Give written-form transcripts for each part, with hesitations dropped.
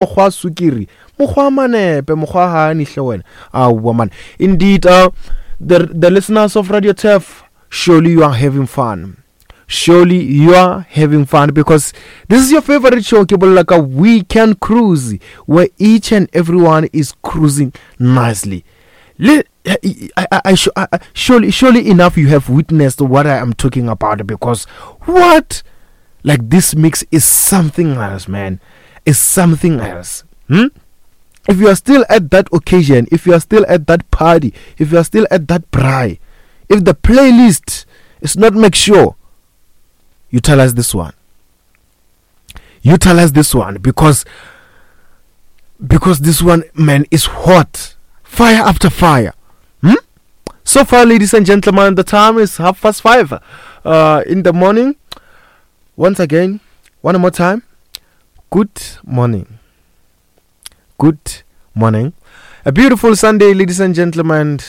Mokgwa wa sukiri, mokgwa wa manepe, mokgwa wa hani hle wena. Aowa man. Indeed, uh, the, the listeners of Radio Turf, surely you are having fun. Surely you are having fun because this is your favorite show, ke bolela ka Weekend Cruise, where each and everyone is cruising nicely. Le, I, I, I, I, surely, surely enough you have witnessed what I am talking about because what? Like this mix is something else, man. Is something else. Hmm? If you are still at that occasion, if you are still at that party, if you are still at that braai, if the playlist is not make sure, utilize this one. Utilize this one because because this one man is hot fire after fire hmm? so far ladies and gentlemen the time is half past five uh, in the morning once again one more time good morning good morning a beautiful sunday ladies and gentlemen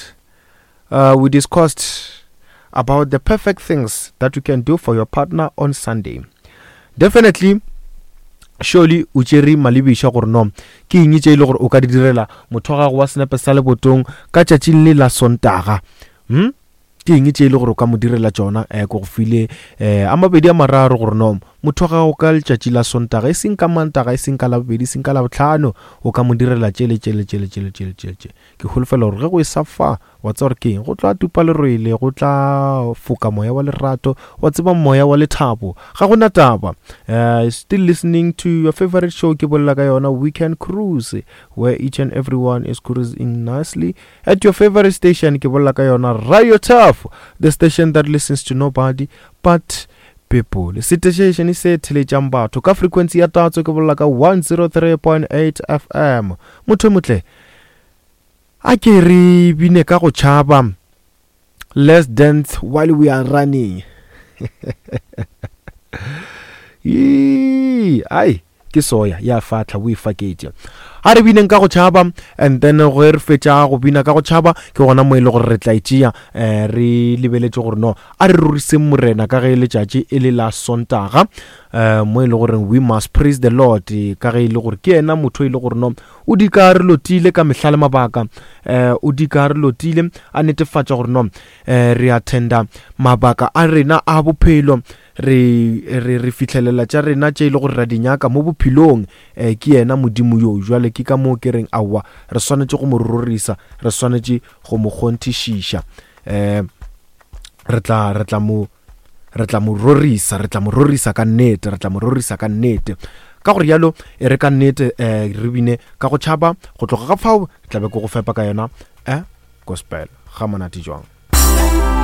uh, we discussed about the perfect things that you can do for your partner on sunday definitely surely o tšere malebiša gore no ke eng tše e le gore o ka di direla motho wa gago wa senepe sa lebotong ka tšatšing le la sontaga hmm? Ke eng tše e le gore o ka mo direla tšona? Um ke go file um a mabedi a mararo gore no motho wa gago ka letšatši la Sontaga, e seng ka Mantaga, e seng ka Labobedi, e seng ka Labohlano, o ka mo direla tše le tše le tše le tše le tše le tše le tše. Ke holofela gore ge go e sa fa, wa tseba gore ke eng, go tla tupa lerwele, go tla foka moya wa lerato, wa tseba moya wa lethabo. Ga go na taba. Uh, still listening to your favorite show ke bolela ka yona Weekend Cruise where each and everyone is cruising nicely At your favorite station, ke bolela ka yona Radio Turf, the station that listens to nobody but people. Setešene se theletšang batho ka frequency ya tatso ke bolela ka 103.8 FM. Motho motle, a ke re bine ka go tšhaba. Let's dance while we are running. Yee, ai ke soya ya fatlha o e faketše a re bineng ka go tšhaba and then ge re fetša go bina ka go tšhaba ke gona mo e le gore re tla itšea um eh, re lebeletše gore no a re roriseng morena ka ge letšatši e le la sontaga um mo e le gore we must praise the lord ka ge e le gore ke yena motho e le gore no o dika re lotile ka mehla le mabaka um o dika re lotile a netefatša gore no um re attenda mabaka a rena a bophelo re re re fihlelela tša rena tše e le gore ra di nyaka mo bophelong um ke yena modimo yo jwale ke ka moo ke reng aowa re swanetše go mo rorisa re swanetše go mo kgonthišiša um re tla re tla mo re tla mo rorisa re tla mo rorisa ka nnete re tla mo rorisa ka nnete ka gore yalo e re ka nnete um re bine ka go tšhaba go tloga ka fao tlabe ke go fepa ka yona um gospel ga monate jwang.